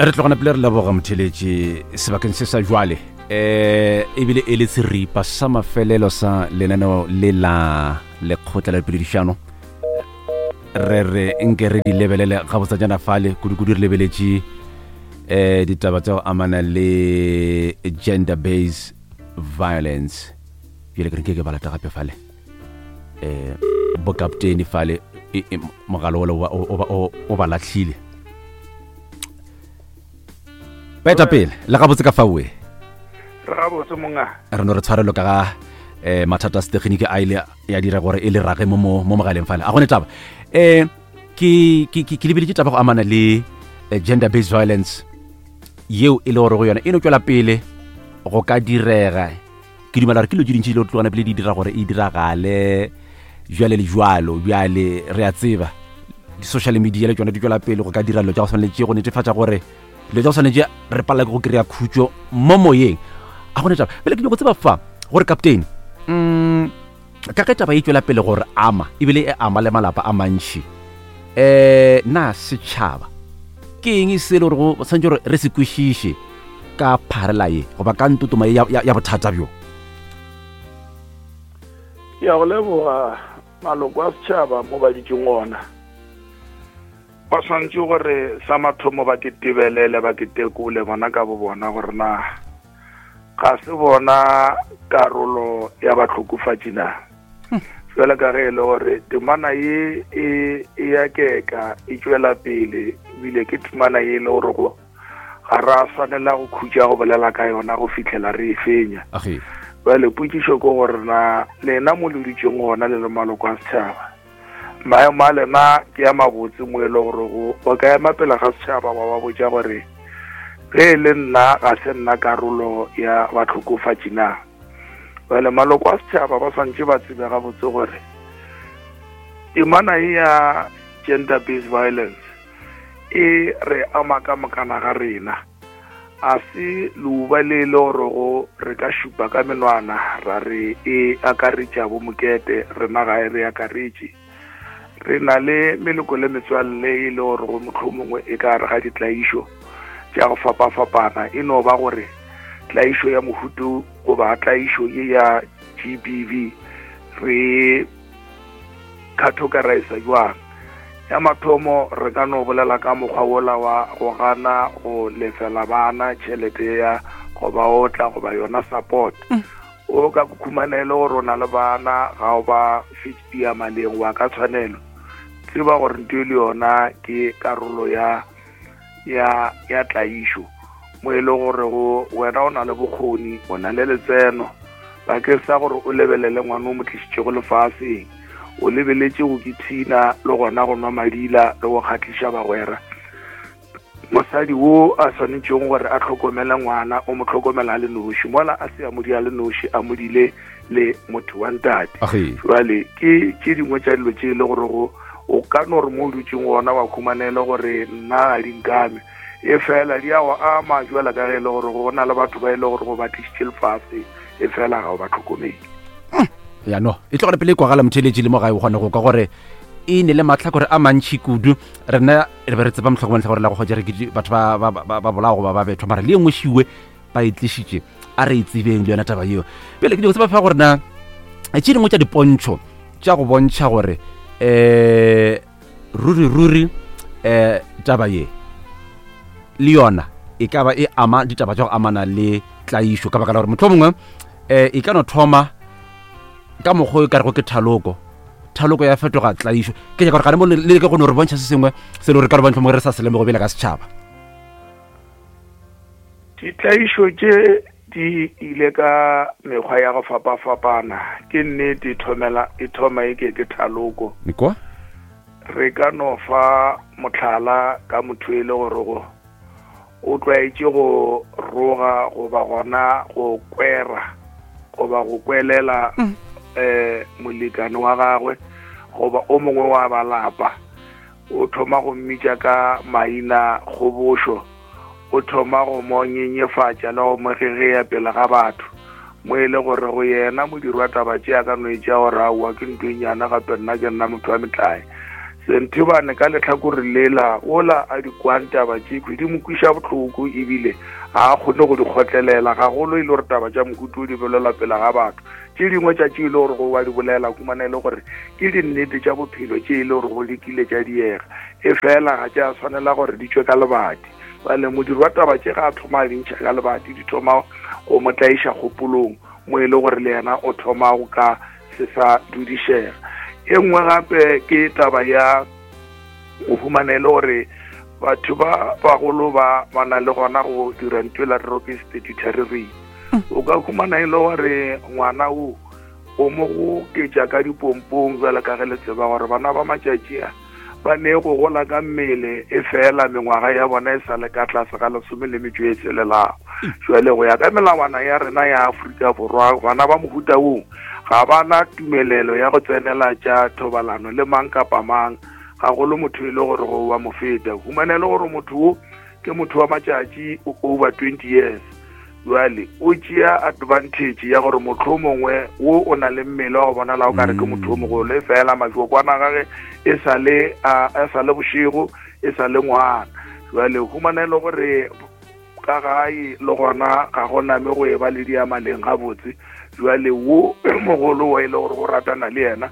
Re tlogana pele re leboga motheletši sebakeng se sa jwale eh ebile e le seripa sa mafelelo sa lenaneo le la lekgotla la dipoledišano. Re re nke re di lebelele gabotsajana fale, kudu-kudu re lebeletše eh ditaba tsa go amana le gender based violence. Bjale ke re nke ke balata gape fale eh bokaptene fale e, e, mogalo ole o ba lahlile. Baetapele le gabotse ka faoe? Re gabotse monga. Re no re tshwarelo ka ga eh mathata a setegeniki a ile ya dira gore e le rage mo mo mogaleng fale. A gone taba eh ke ke ke lebeletše taba go amana le eh, gender based violence yeo e le gore go yona e no tšwela pele go ka direga. Ke dumela gore ke dilo tše dintši dilo tlogana pele di dira gore e diragale jwale le jwalo. Bjale re a tseba di-social media le tšona di tšwela pele go ka dira dilo tša go tshwana le tše, go netefatša gore dilo tša go tshwana le tše re palela ke go kry-a khutšo mo moyeng. A gone taba pele ke nyako tseba fa gore captain ka ge taba e tšwela pele gore ama ebile e ama le malapa a mantši, um na setšhaba ke eng se e le gore go tshwanetse gore re se kwešiše ka pharela ye goba ka ntotoma ye ya bothata bjo? Ke ya go leboga. Maloko a setšhaba mo ba ditšeng ona ba swanetše gore sa mathomo ba ke tebelele, ba ke tekole bona ka bo bona gore na ga se bona karolo ya bahlokofatši na. Jwale ka ge e le gore temana ye e e ya keka e tšwela pele, ebile ke temana ye e le gore go ga ra swanela go khutša go bolela ka yona go fihlela re e fenya. Bjale potšišo ke gore na lena mo le dutšeng gona le le maloko a setšhaba, maemo a lena ke a mabotse mo e le gore go o ka ema pele ga setšhaba wa ba botša gore ge e le nna ga se nna karolo ya bahlokofatši na? Bjale maloko a setšhaba ba swantše ba tsebe gabotse gore temana ye ya gender based violence e re ama ka mokana ga rena. A se leuba le e le gorego re ka šupa ka menwana ra re e akaretša bo mokete, rena ga e re akaretše. Re na le meloko le metswalle e le gorego mohlomongwe e ka gare ga ditlaišo tša go fapafapana, e no ba gore tlaišo ya mohuto goba tlaišo ye ya GBV re categorize jwang. Ya mathomo re ka no bolela ka mokgwa wola wa go gana go lefela bana tšhelete ya go ba otla goba yona support. O ka khumana e le gore o na le bana ga o ba fetša maleng wa ka tshwanelo, tseba gore nto e le yona ke karolo ya ya ya tlaišo, mo e le gore go wena o na le bokgoni, o na le letseno bakeng sa gore o lebelele ngwana o mo tlišitšego lefaseng, o lebeletše go kithina le gona go nwa madila le go kgatliša bagwera. Mosadi wo a swanetšego gore a hlokomele ngwana o mo hlokomela a le noši, mola a se a mo di a le noši, a mo dile le motho wa ntate. Jwale ke tše dingwe tša dilo tše e le gore go o ka no re mo o dutšeng gona wa khumanele gore nna ga di nkame, e fela di a go ama jwale ka ge e le gore go na le batho ba e le gore go ba tlišitše lefase, e fela ga o ba tlhokomele. Ya no e tlogele pele e kwagala motheletši le mo gae o kgone go kwa gore e ne le mahlakore a mantšhi kudu. Rena re be re tseba mohlomongwe lehlakore la go kgotša re ke batho ba bolao goba ba bethwa, mara le e nngwe šiwe ba e tlišitše, a re e tsebeng le yona taba yeo. Pele ke dilo tseba fa gore na tše dingwe tša dipontšho tša go bontšha gore um ruri ruri um taba ye le yona e ka ba e ama ditaba tša go amana le tlaišo, ka baka la gore mohlomongwe um e ka no thoma ka mokgwa o e ka rego ke thaloko, thaloko ya fetoga tlaišo. Ke nyaka gore gane mo le leke go no re bontšha se sengwe se le gore ka re bontšha mo re sa se lemogo bjale ka setšhaba. Ditlaišo tše di ile ka mekgwa ya go fapafapana. Ke nnete e thomela e thoma e ke ke thaloko. Nikwa? Re ka no fa mohlala ka motho e le gore go o tlwaetše go roga goba gona go kwera goba go kwelela um molekane wa gagwe goba o mongwe wa ba lapa. O thoma go mmitša ka maina kgobošo, o thoma go mo nyenyefatša le go mo gegea pele ga batho, mo e le gore go yena modiri wa taba tše a ka no e tšea gore aowa ke ntho e nyane, gape nna ke nna motho wa metlae. Senthibane ka lehlakore lela, wola a di kwang taba tšekhwi di mo kwiša bohloko ebile ga a kgone go di kgotlelela, gagolo e le gore taba tša mohuta o di bolelwa pele ga batho. Tše dingwe tša tše e le gore go wa di bolela humana e le gore ke dinnete tša bophelo tše e le gore go lekile tša diega, efela ga tša swanela gore di tšwe ka lebati. Bjale modiri wa taba tše ga a thoma a di ntšha ka lebati, di thoma go mo tlaiša kgopolong mo e le gore le yena o thoma go ka se sa dudišega. E nngwe gape ke taba ya go humana e le gore batho ba bagolo ba ba na le gona go dira ntho e la re ke statutory rape. O ka humana e le gore ngwana o o mo go ketša ka dipompong bjalo ka ge le tseba gore bana ba matšatši a ba ne go gola ka mmele e fela mengwaga ya bona e sa le ka tlase ga lesome le metšo e tshelelago. Jwale go ya ka melawana ya rena ya Afrika Borwa, bana ba mohuta woo ga ba na tumelelo ya go tsenela tša thobalano le mang kapa mang, gagolo motho e le gore go wa mo feta. Humana e le gore motho wo ke motho wa matšatši over 20 years, Bjale o tšea advantage ya gore mohlomongwe wo o na le mmele wa go bonala o kare ke motho o mogolo, e fela majokwana gage e sa le a e sa le bošego, e sa le ngwana. Bjale humana e le gore ka gae le gona ga go name go e ba le diamaleng gabotse. Bjale wo mogolo wa e le gore go ratana le yena,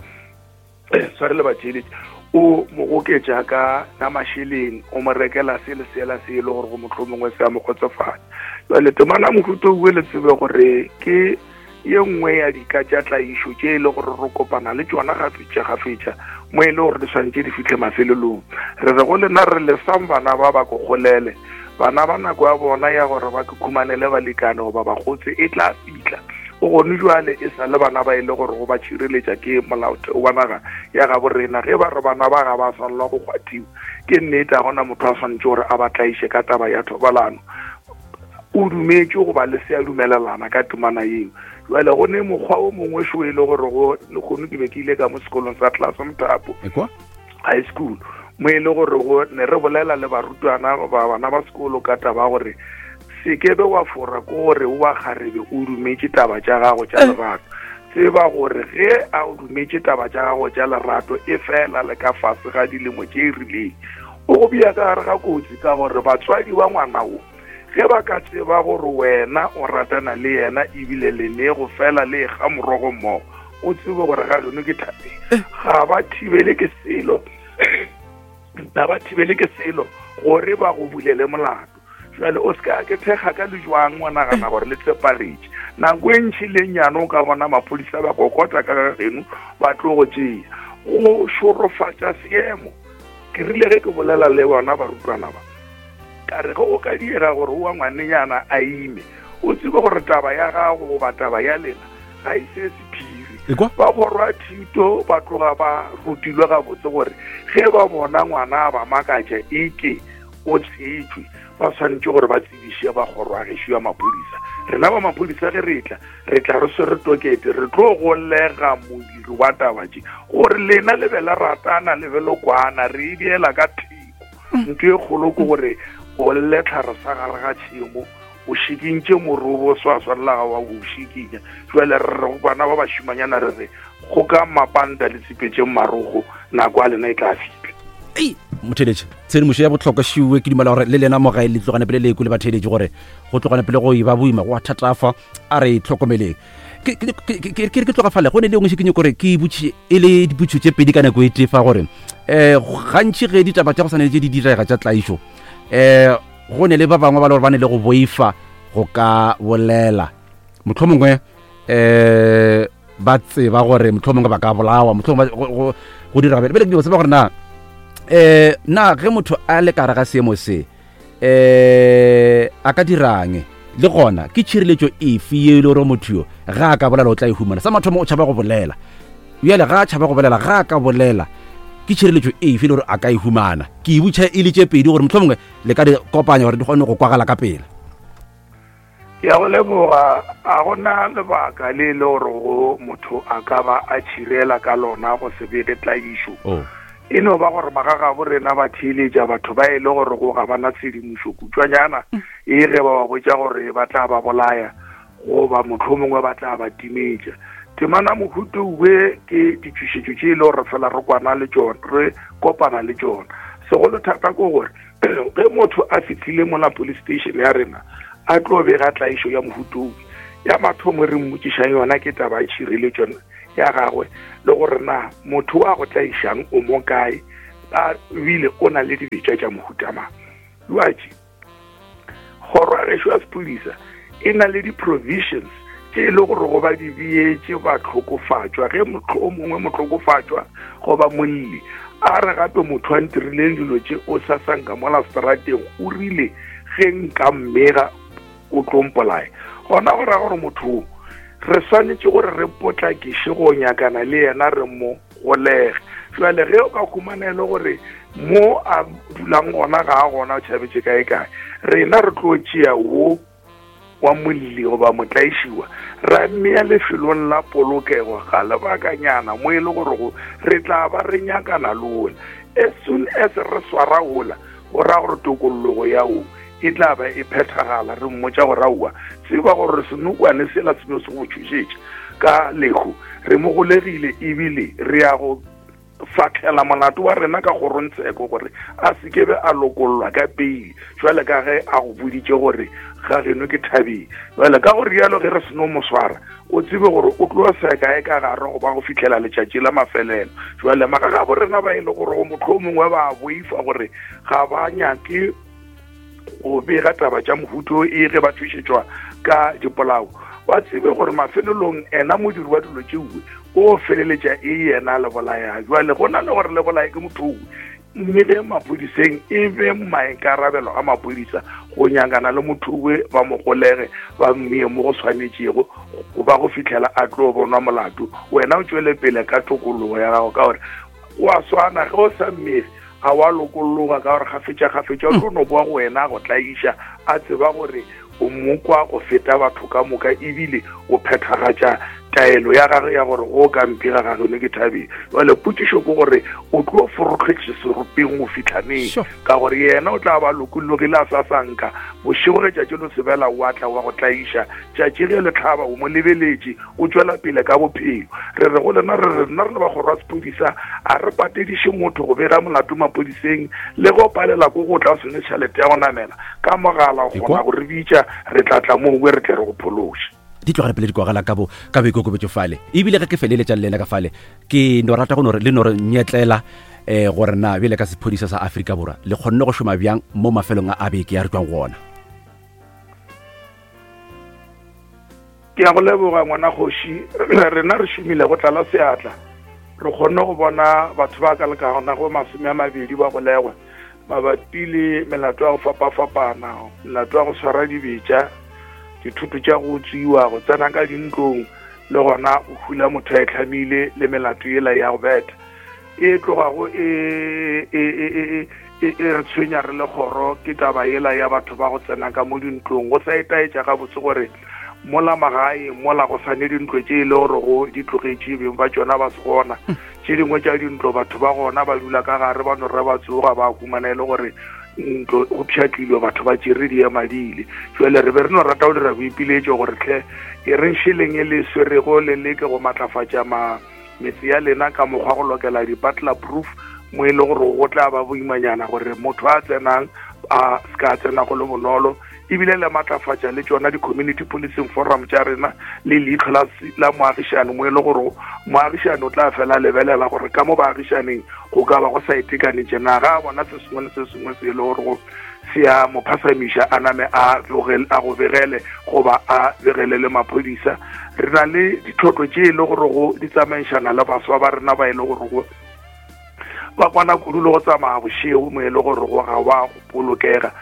tshwarele batheeletši, o mo goketša ka ka mašeleng, o mo rekela se le sela se e le gore go mohlomongwe se a mo kgotsofatša. Jale temana mohuta o le tsebe gore ke ye nngwe ya dika tša tlaišo tše e le gore re kopana le tšona gafetša gafetša mo e le gore di swanetše di fihle mafelelong. Re re go lena re lesang bana ba ba ko golele, bana ba nako ya bona ya gore ba ke khumanele balekane goba bakgotse e tla fihla. Go gone jwale e sa le bana ba e le gore go ba tšhireletša ke molaotheo wa naga ya gabo rena. Ge ba re bana ba ga ba swanelwa go kgwathiwa, ke nnete, ga gona motho a swanetše gore a ba tlaiše ka taba ya thobalano. O dumetše goba le se a dumelelana ka temana yeo. Jwale go ne mokgwa o mongwe šo e le gore go lehono ke be ke ile ka mo sekolong sa Tlase Mothapo High School, mo e le gore go ne re bolela le barutwana ba bana ba sekolo ka taba gore se ke be wa fora ko gore wa kgarebe o dumetše taba tša gago tša lerato. Tseba gore ge a o dumetše taba tša gago tša lerato e fela le ka fase ga dilemo tše e rileng, o go bea ka gare ga kotsi, ka gore batswadi ba ngwana wo ge ba ka tseba gore wena o ratana le yena ebile le ne go fela le ga morogo mmogo, o tsebe gore ga geno ke thabeng, ga ba thibele ke selo, ga ba thibele ke selo gore ba go bulele molato. Jwale o se ka ke thekga ka lejwang wa nagana gore le tsepaletše. Nako e ntši le nyane o ka bona maphodisa ba kokota ka ga geno ba tlo go tšea. Go šorofatša seemo. Ke rile ge ke bolela le bona barutwana ba, ka re ge o ka diega gore wa ngwanenyana a ime, o tsebe gore taba ya gago goba taba ya lena ga e se sephiri. Ba kgorwa thuto ba tloga ba rutilwe gabotse gore ge ba bona ngwana a ba makatša eke o tshetšwe, ba swanetše gore ba tsebiše ba kgoro ya gešo ya maphodisa. Rena ba maphodisa ge re tla, re tla re swere tokete, re tlo golega modiri wa taba tše gore lena le be la ratana, le be le kwana, re e beela ka theko. Ntho e kgolo ke gore o lle tlhare sa gare ga tšhemo, o šikintše morobo o sa swanela ga wa o šikinya. Jwale re re go bana ba bašimanyana re re kgokang mapanta le tsipetšeng marogo, nako ya lena e tla fihla. Ei, motheeletši, tshedimošo ya bohlokwa šiwe. Ke dumela gore le lena mo gae le tlogane pele le ekwe le batheeletši gore go tlogane pele go e ba boima, go a thatafa. A re itlhokomeleng. Ke re ke tloga fale go ne le engwe se ke nyako gore ke botše e le dipotšišo tše pedi ka nako e tee fa gore um gantši ge ditaba tša go swana le tše di direga tša tlaišo um go ne le ba bangwe ba le gore ba ne le go boifa go ka bolela, mohlomongwe um ba tseba gore mohlomongwe ba ka bolawa, mohlomongwe go dira bjale. Bjale ke tseba gore na um na ge motho a le ka gare ga seemo se um a ka dirang, le gona ke tšhireletšo efe ye e le gore motho yo ga a ka bolela o tla e humana. Sa mathomo o tšhaba go bolela, bjale ga a tšhaba go bolela, ga a ka bolela ke tšhireletšo efe e le gore a ka e humana. Ke e butšha e le tše pedi gore mohlomongwe le ka di kopanya gore di kgone go kwagala ka pela. Ke a go leboga. A gona lebaka le e le gore go motho a ka ba a tšhirela ka lona go se bege tlaišo. Oh. E no ba gore magagabo rena ba theeletša batho ba e le gore go ga bana tshedimošo kutšwanyana, e ge ba ba botša gore ba tla ba bolaya goba mohlomongwe ba tla ba timetša. Temana mohuta we ke ditšhošetšo tše e le gore fela re kwana le tšona, re kopana le tšona. Segolo thata ke gore ge motho a fihlile mola police station ya rena a tlo bega tlaišo ya mohuta owe, ya mathomo re mmotšišang yona ke taba ya tšhireletšo ya gagwe le gore na motho wa go tlaišang o mo kae, a bile o na le dibetša tša mohuta mang. Jwatše kgoro ya gešo ya sephodisa e na le di-provisions tše e le gore go ba di beetše bahlokofatšwa ge motho o mongwe mohlokofatšwa goba molli a re gape motho a ntirileng dilo tše o sa sanka mola strateng o rile ge nka mmega o tlo mpolaya, gona go ra gore motho o re swanetše gore re potlakiše go nyakana le yena re mo golege. Jwale ge o ka humana e le gore mo a dulang gona ga a gona, o tšhabetše kae kae, rena re tlo tšea wo wa molli goba motlaišiwa ra mmea lefelong la polokego ga lebakanyana mo e le gore go re tla ba re nyakana le ola. As soon as re swara ola, go ra gore tokollogo ya o e tla ba e phethagala. Re mmotša gore aowa, tseba gore senokwane sela se no se go tšhošetša ka lehu, re mo golegile ebile re ya go fahlela molato wa rena ka kgorongtsheko gore a se ke be a lokollwa ka peile jwale ka ge a go boditše gore ga geno ke thabeng. Jwale ka go rialo ge re seno mo swara, o tsebe gore o tlo seka e ka gare go ba go fihlela letšatši la mafelelo. Jwale magagabo rena ba e le gore go motlho mongwe ba boifa gore ga ba nyake go bega taba tša mohuto e ge ba tšhošetšwa ka dipolao, ba tsebe gore mafelelong ena modiri wa dilo tšeue o feleletša e yena le bolaya. Jwale go na le gore le bolaye ke motho owe, mme ge maphodiseng e be maikarabelo a maphodisa go nyakana le motho owe, ba mo golege ba mmee mo go swanetšego go ba go fihlela a tlo bonwa molato. Wena o tšwele pele ka tokologo ya gago, ka gore o a swana ge o sa mmege a wa lokolloga, ka gore kgafetša-kgafetša o tlo no boa go wena a go tlaiša, a tseba gore o mokwa go feta batho ka moka, ebile o phethagatša taelo ya gagwe ya gore go ka mphega ga geno ke thabeng. Jale potšišo ke gore o tlo forohletše seropeng go fihla neng? Ka gore yena o tla ba lokollogile a sa sanka. Bošego ge tšatši lo sebela o a tla wa go tlaiša, tšatši ge le hlaba o mo lebeletše, o tšwela pele ka bophelo. Re re go lena, re re rena re le ba kgoro ya sephodisa a re patediše motho go bega molato maphodiseng, le ge o palela ko go tla o sene tšhelete ya go namela ka mogala o kgona go re bitša, re tla tla moo re tle re go phološe. Di tlogela pele di kwagala ka bo ka boikokobetšo fale. Ebile ge ke feleletša le lena ka fale, ke no rata go no re le no re nyetlela um gore na bjale ka sephodisa sa Afrika Borwa le kgonne go šoma bjang mo mafelong a a beke ya re tšwang go ona. Ke a go leboga ngwana kgoši. Rena re šomile go tlala seatla, re kgonne go bona batho ba ka lekanago 20 ba golegwa mabapi le melato ya go fapafapana, melato ya go swara dibetša, dithoto tša go utswiwa, go tsena ka dintlong, le gona go hula motho a e hlamile, le melato yela ya go betha e tlogago e e e e e e re tshwenya re le kgoro. Ke taba yela ya batho ba go tsena ka mo dintlong go sa itaetša gabotse gore mola magae mola go sane dintlo tše e le gore go di tlogetše beng ba tšona ba se gona. Tše dingwe tša dintlo batho ba gona ba dula ka gare, ba no re ba tsoga ba humana e le gore ntlo go pšhatlilwe, batho ba tšere diema di ile. Jwale re be re no rata go dira boipiletšo gore hle e reng šeleng e le swerego le leke go matlafatša ma metse ya lena ka mokgwa go lokela di-butler proof mo e le gore go tla ba boimanyana gore motho a tsenang a se ka tsena go le bonolo, ebile le matlafatša le tšona di-community policing forum tša rena le leitlho la, la moagišane mo e le gore moagišane o tla fela lebelela gore ka mo baagišaneng go ka ba go sa itekanetše na, ga a bona se sengwe le se sengwe se e le gore go se a mo phasamiša a name a a go begele goba a begele le maphodisa. Re na le ditlhotlo tše e le gore go di tsamaišana le baswa ba rena ba e le gore go ba kwana kudu le go tsamaya bošego mo e le gore go ga wa go bolokega.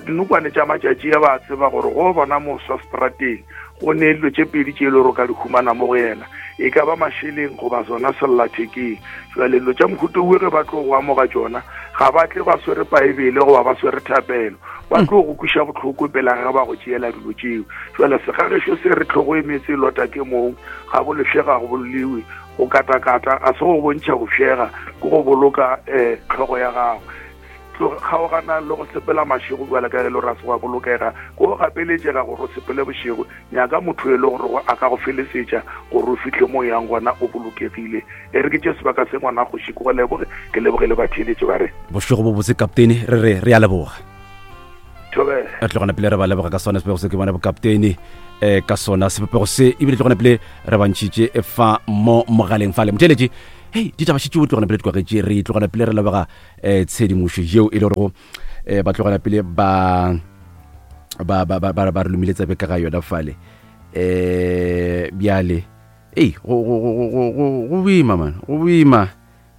Dinokwane tša matšatši a ba tseba gore go bona moswa strateng go ne dilo tše pedi tše e le gore o ka di humana mo go yena, e ka ba mašeleng goba sona sellathekeng. Jwale dilo tša mohuta owe ge ba tlo go amoga tšona, ga ba tle ba swere Paebele goba ba swere thapelo, ba tlo go kweša bohloko pele ga ba go tšeela dilo tšeo. Jwale segagešo se re tlhogo e meetse e lota ke mong, ga bo lefše ga go boleliwe, go katakata ga se go bontšha go fšega, ke go boloka um tlhogo ya gago. Kgaogana le go sepela mašego bjale ka ge e le gore a se wa bolokega. Ko gapeletšega gore o sepele bošego, nyaka motho e le gore a ka go felesetša gore o fihle mo o yang gona o bolokegile. E re ke tše sebaka se ngwana kgoši ke go leboge, ke leboge le batheeletši ba re. Bošego bo botse kaptene, re re re a leboga. Thobela. Re tlogana pele re ba leboga ka sona sebopego se ke bona bokaptene eh ka sona sebopego se ebile tlogana pele re ba ntšhitše fa mo mogaleng fale. Motheeletši, hei ditaba šetše o tlogana pele di kwagetše, re tlogana pele re leboga eh tshedimošo yeo e le gorego eh ba tlogela pele ba ba ba ba ba re lomile tsebe ka ga yona fale eh bjale ei go go go go go go boima man go boima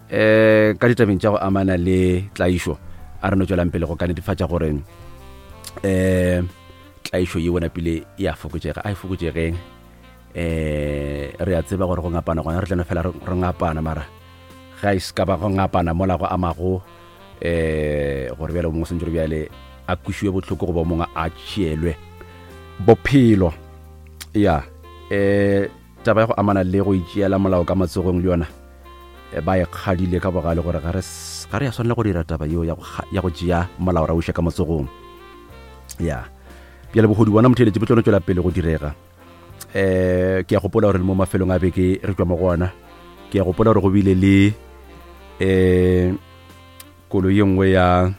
eh ka ditabeng tša go amana le tlaišo a re no tswelang pele go ka netefatša gore eh tlaišo ye bona pele e a fokotšega a e fokotšegeng eh re a tseba gore go ngapana gona re tla no fela re ngapana mara ga e se ka ba go ngapana mola go amago um gore bjale o mongwe sentse gore bjale a kwešiwe bohloko goba o mongwe a tšeelwe bophelo ya um taba ya go amana le go itšeela molao ka matsogong le yona eh, ba e kgadile ka bogale gore ga re ya swanela go dira taba yeo ya go tšea molao ra uša ka matsogong ya bjale bogodu bona motheeletše bo tlo no tšwela pele go direga eh ke a gopola gore le mo mafelong a beke re tšwa mo go ona ke a gopola gore go bile le eh koloi ye nngwe ya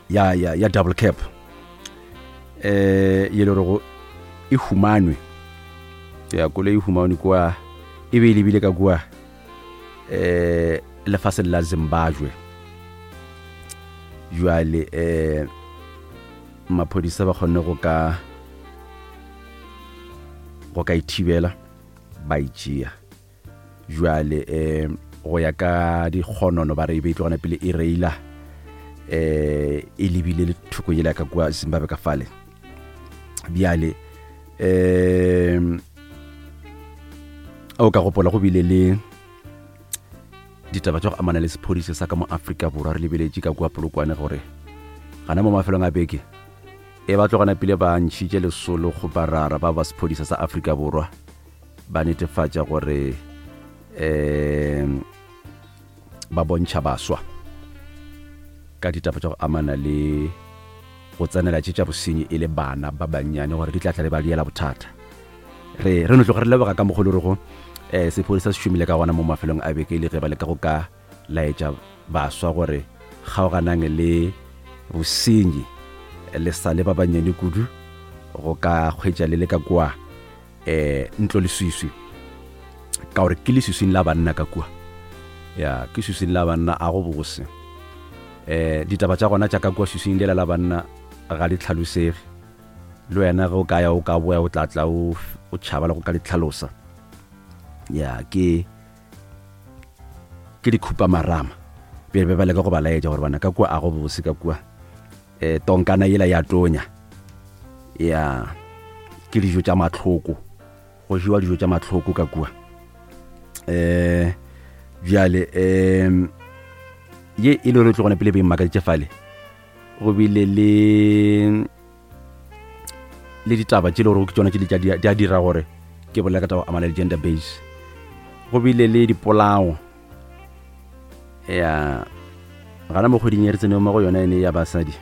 ya ya ya double cap eh ye le gore e humanwe ya koloi e humanwe kwa e be e lebile ka kua eh lefaseng la Zimbabwe jwale eh maphodisa ba kgonne go ka go ka ithibela ba itšea jwale um go ya ka dikgonono ba re e be e tlogana pele e reila um e lebile le thoko yela ka kua Zimbabwe ka fale bjale um o ka gopola go bile le ditaba tša go amana le sephodisa sa ka mo Afrika Borwa re lebeletše ka kua Polokwane gore gana mo mafelong a beke e ba tlogana pele ba ntšhitše lesolo go barara ba ba sephodisa sa Afrika Borwa ba netefatša gore um ba bontšha baswa ka ditaba tša go amana le go tsenela tše tša bosenyi e le bana ba bannyane gore di tla tla le ba diela bothata re re no tloga re leboga ka mokgolo re go um sephodisa se šomile ka gona mo mafelong a beke le ge ba leka go ka laetša baswa gore kgaoganang le bosenyi le sa le ba bannyane kudu go ka kgwetša le le ka kua um ntlo leswiswi ka gore ke leswiswing la banna ka kua ya ke swiswing la banna a go bose um ditaba tša gona tša ka kua swiswing lela la banna ga di tlhalosege le wena ge o ka ya o ka boya o tla tla o tšhaba le go ka di tlhalosa ya ke ke dikhupamarama pele be ba leka go ba laetša gore bana ka kua a go bose ka kua um tonkana yela ya tonya ya ke dijo tša mahloko go jewa dijo tša mahloko ka kua um bjale um ye e le gore e tlo gona pele be e mmakaditše fale go bile le le ditaba tše le gore ke tsona tše di a dira gore ke bolela ka taba amana le gender base go bile le dipolao ya gana mo kgweding e re tseneng mo go yona ene ya basadi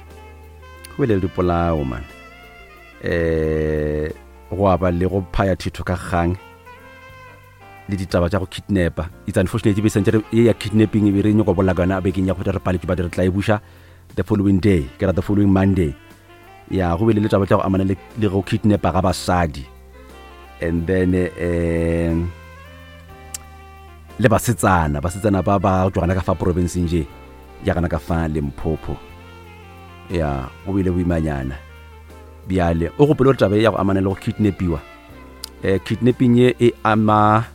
go bile le dipolao man um go aba le go phaya thitho ka kgang le ditaba tša go kidnapa it's unfortunate be sentse ye ya kidnapping e be re nyoko bolela ka yona bekeng ya go feta re paletše ba re tla e buša the following day ke ra the following monday ya go bile le taba tša go amana le go kidnapa ga basadi and then um le basetsana basetsana ba ba tšwa gana ka fa provinceng je ya gana ka fa Limpopo ya go bile boimanyana bjale o gopole gore taba e ya go amana le go kidnapiwa eh, kidnapping ye e ama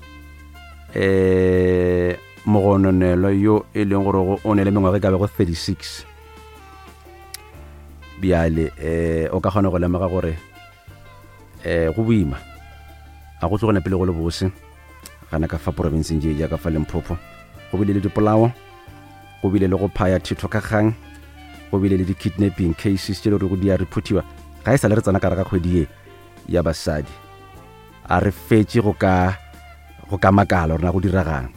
eh, mogononelo yo e leng gore o ne le mengwaga e ka bego 36 bjale eh, o ka kgona go lemoga gore eh, go boima a go tlogone pele go le bose gana ka fa porofenseng je jaaka fa Limpopo go bile le dipolao go bile le go phaya thetho ka kgang go bile le di-kidnapping cases tše le gore go di a reportiwa ga e sa le re tsena ka re ga kgwedi ye ya basadi a re fetše go ka go ka makala gore na go diragang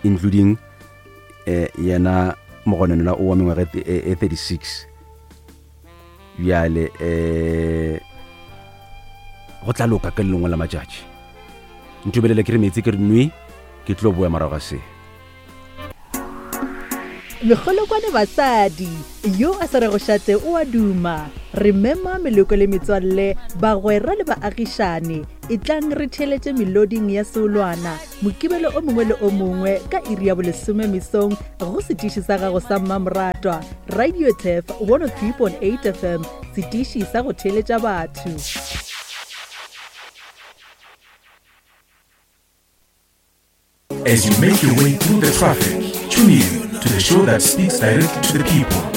including eh, yena mogononelwa o wa mengwaga e 36 bjale um go tla loka ka lelongwe la matšatši ntubelele ke re metsi ke re nwe ke tlo boya morago ga se Mekgolokwane basadi, yo a sa rego šate o a duma. Re mema meloko le metswalle, bagwera le baagišane. Etlang re theeletše meloding ya seolwana Mokibelo o mongwe le o mongwe ka iri ya bolesome mesong go setiši sa gago sa mmamoratwa, Radio Turf 103.8 FM, setiši sa go theeletša batho. As you make your way through the traffic, tune in to the show that speaks directly to the people.